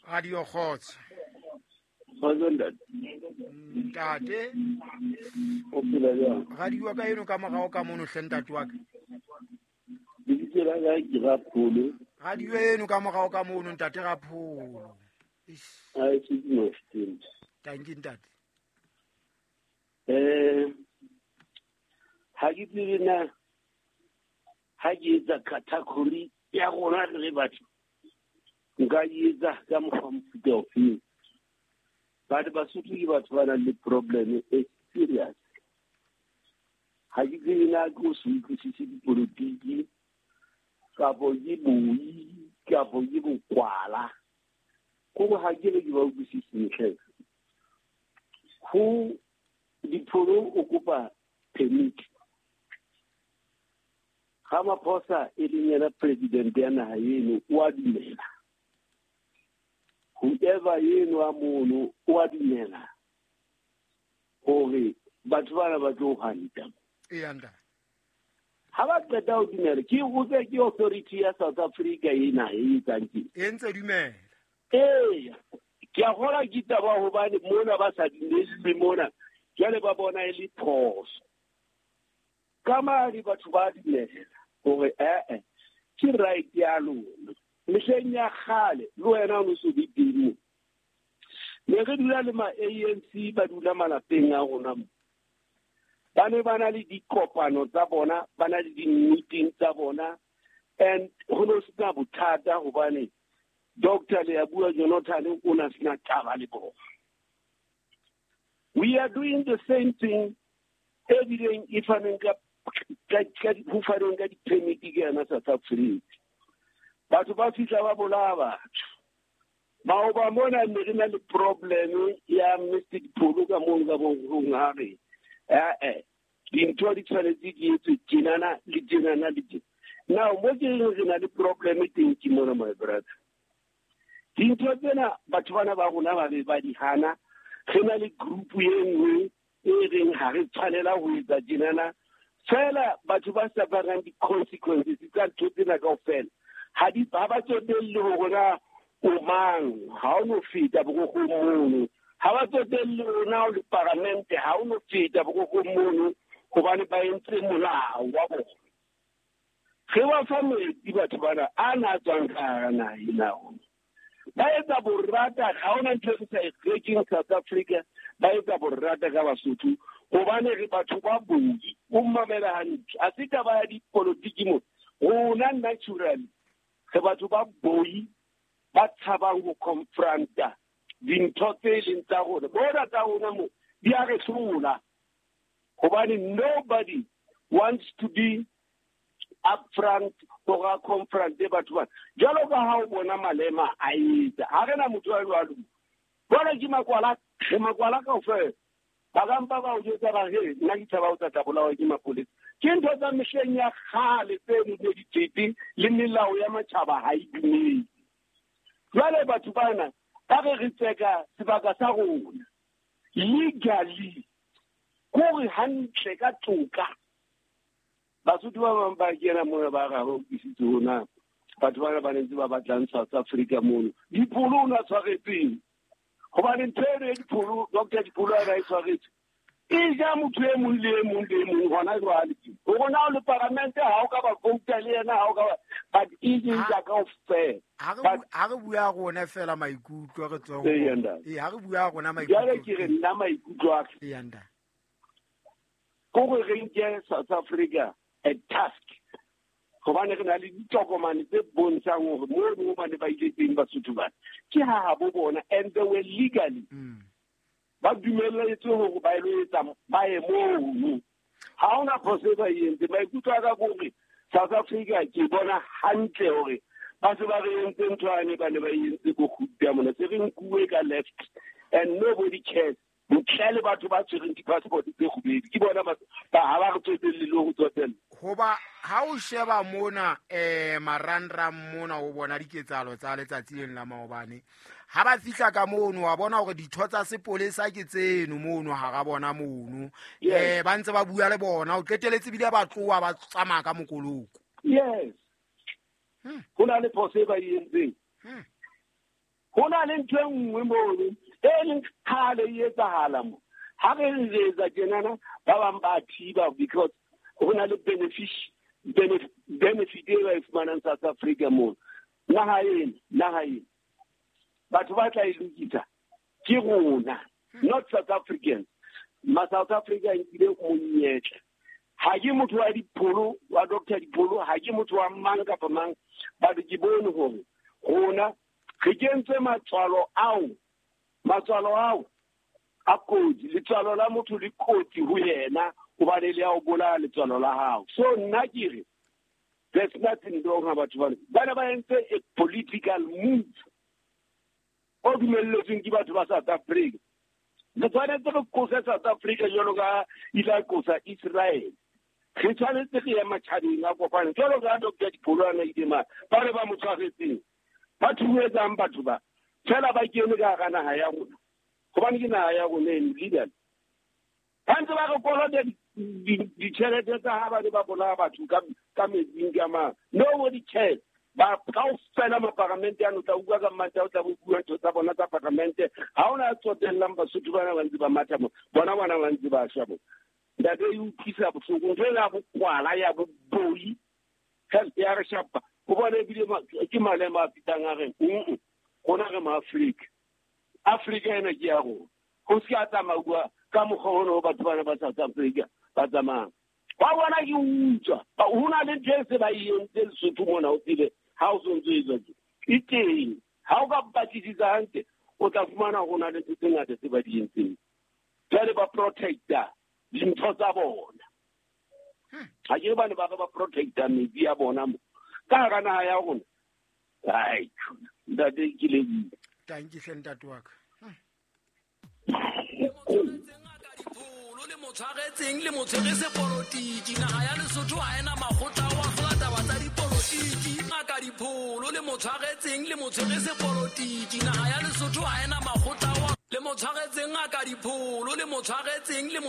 Radio Kgotso. Kgotso ntate. Ntate. O phela jwang? Radio ka eno ka morao ka mono hle ntate wa ka. Lebitso la ka ke Rapholo. Radio eno ka morao ka mono ntate Rapholo. Eish. A se ke no fiteng. Thank you ntate. Ha ke tsebe na ha ke etsa category ya rona re le batho nka e etsa ka mokgwa mofuta ofeng. Batho Basotho ke batho ba nang le problem e serious. Ha ke tsebe na ke o se utlwisise dipolotiki kapo ke boi kapo ke bokwala. Kore ha ke re ke ba utlwisise ntle. Ho Dipholo o kopa permit. Ramaphosa e leng yena president ya naha eno o a dumela. Whoever eno a mono o a dumela hore batho bana ba tlo hanta. Eya ntate. Ha ba qeta ho dumela, ke botse ke authority ya South Africa ena e etsang ke. E ntse dumela. Eya, ke a kgolwa ke taba hobane mona ba sa dumelle mona, jwale ba bona e le phoso. Ka madi batho ba dumela hore ke right ya lona. Mehleng ya kgale le wena o no so be teng mo. Ne re dula le ma ANC ba dula malapeng a rona mo. Ba ne ba na le dikopano tsa bona, ba na le di-meeting tsa bona, and ho no sena bothata hobane Doctor Leabua Jonathan o na sena taba le bona. We are doing the same thing ebileng e faneng ka ho faneng ka di-permit ke yona South Africa. Batho ba fihla ba bolaya batho. Maoba mona ne re na le problem ya Mr. Dipholo ka mono ka bohong ha re, dintho di tshwanetse di etswe tjenana le tjenana le tjena. Now, mo ke reng re na le problem teng ke mona, my brother. Dintho tsena batho bana ba rona ba be ba di hana. Re na le group e nngwe e reng ha re tshwanela ho etsa tjenana. Fela batho ba sufferang di-consequences tsa ntho tsena kaofela. Ha di, ha ba tsotelle hore na o mang, ha o no feta borokgong mono. Ha ba tsotelle hore na o le paramente, ha o no feta borokgong mono, hobane ba entse molao wa bona. Re ba fa metsi batho bana, a na tswang ka hara naha ena rona. Ba etsa borata, ha hona ntho e re sa e rekeng South Africa, ba etsa borata ka Basotho, hobane re batho ba boi, o mmamela hantle. Ha se taba ya dipolotiki mo. Rona naturally, re batho ba boi, ba tshabang ho confronta dintho tse leng tsa rona. Bona tsa rona mo, di a re hlola. Hobane nobody wants to be upfront hore a confronte batho bana. Jwalo ka ha o bona Malema a etsa, ha re na motho a jwalo. Jwale ke makwala, re makwala kaofela. Ba ka mpa ba o jwetsa ba re, nna ke tshaba ho tla bolawa ke mapolesa. Ke ntho tsa mehleng ya kgale tse ne di tswetse le melao ya matjhaba ha e dumele. Jwale batho bana ba re re tseka sebaka sa rona legally, kore hantle ka toka. Basotho ba bang ba kena mona ba re ha ba utlwisitse hona. Batho bana ba ne ntse ba batlang South Africa mono. Dipholo o na tshwaretseng. Hobane ntho eno ya Dipholo, Doctor Dipholo a na e tshwaretse. E ja motho e mong le e mong le e mong hona jwale. Hore na o le paramente ha o ka ba vouta le yena, ha o ka ba, but e ke ja kaofela. Ha re bua rona fela maikutlo re tswe ho Ee, bona. ntate. Ee, ha re bua rona maikutlo. Jwale ke re nna maikutlo a ka. Ee, ntate. Kore re nke South Africa a task. Hobane re na le ditokomane tse bontshang hore moo mo ba ne ba ile teng Basotho bana. Ke ha habo bona, and they were legally. Ba dumelletswe hore ba ilo etsa ba ye mono. Ha hona phoso e ba e entseng. Maikutlo a ka ke hore South Africa ke bona hantle hore ba se ba re entse ntho yane ba ne ba e entse ko Gupta mona. Se re nkuwe ka left and nobody cares. Ntle le batho ba tshwereng di-passport tse kgubedu. Ke bona ba ha ba re tsotelle le ho tsotella. Hoba ha o sheba mona, marangrang mona o bona diketsahalo tsa letsatsi leng la maobane. Ha ba fihla ka mono wa bona hore ditho tsa sepolesa ke tseno mono hara bona mono. Ba ntse ba bua le bona, o qeteletse bile ba tloha ba tsamaya ka mokoloko. Yes. Ho na le phoso e ba e entseng. Ho na le ntho e nngwe mono e leng kgale e etsahala mo. Ha re re etsa tjenana, ba bang ba thiba because ho na le benefit e ba e fumanang South Africa mono. Naha ena batho ba tla e lokisa ke rona, not South Africans. Ma South Africa nkile monyetla. Ha ke motho wa dipholo, wa Dr. Dipholo, ha ke motho wa mang kapa mang, but ke bone hore rona re kentse matswalo ao a kotsi. Letswalo la motho le kotsi ho yena hobane le ya o bolaya letswalo la hao. So nna ke re there's nothing wrong ha batho bana ba entse a political move o dumelletsweng ke batho ba South Africa. Re tshwanetse re qose South Africa jwalo ka ile qosa Israel. Re tshwanetse re ye matjhabeng a kopane jwalo ka Dr. Dipholo a ile ma ba re ba mo tshwaretseng. Ba thuetsang batho ba fela ba kene ka hara naha ya rona, hobane ke naha ya rona eno legal. Ba ntse ba re kolota ditjhelete tsa ha ba ne ba bolaya batho ka metsing ka mang. Nobody cares. Ba kaofela maparamente ano tla utlwa ka mmanta, o tla bo bua ntho tsa bona tsa paramente. Ha ona tsotellang Basotho bana ba ntse ba matha mo, bona bana ba ntse ba shwa mo. Ntate e utlwisa bohloko, ntho ena ya bokwala ya boboi ya re shapa. Ho bona ebile ke malema a fetang a reng rona re ma-Afrika, Afrika ena ke ya rona. Ho se ka tsamauwa ka mokgwa ona o batho bana ba South Africa ba tsamayang. Ba bona ke utswa, ho na le ntho e se ba e entse Lesotho mona, o tsebe ha o sontso etswa tje e teng. Ha o ka batlisisa hantle, o tla fumana ho na le ntho tse ngata tse ba di entseng. Jwale ba protecta dintho tsa bona. Ha ke bane ba re ba protecta metsi ya bona mo ka hara naha ya rona. Ai, ntate ke lebohile. Tanki hle ntate wa ka. Le mo tshwaretseng le mo tshwere sepolotiki. Naha ya Lesotho ha ena makgotla wa hlola taba tsa dipolotiki. Ngaka Dipholo le mo tshwaretseng le mo tshwere sepolotiki. Naha ya Lesotho ha ena makgotla wa le mo tshwaretseng ngaka Dipholo le mo tshwaretseng le mo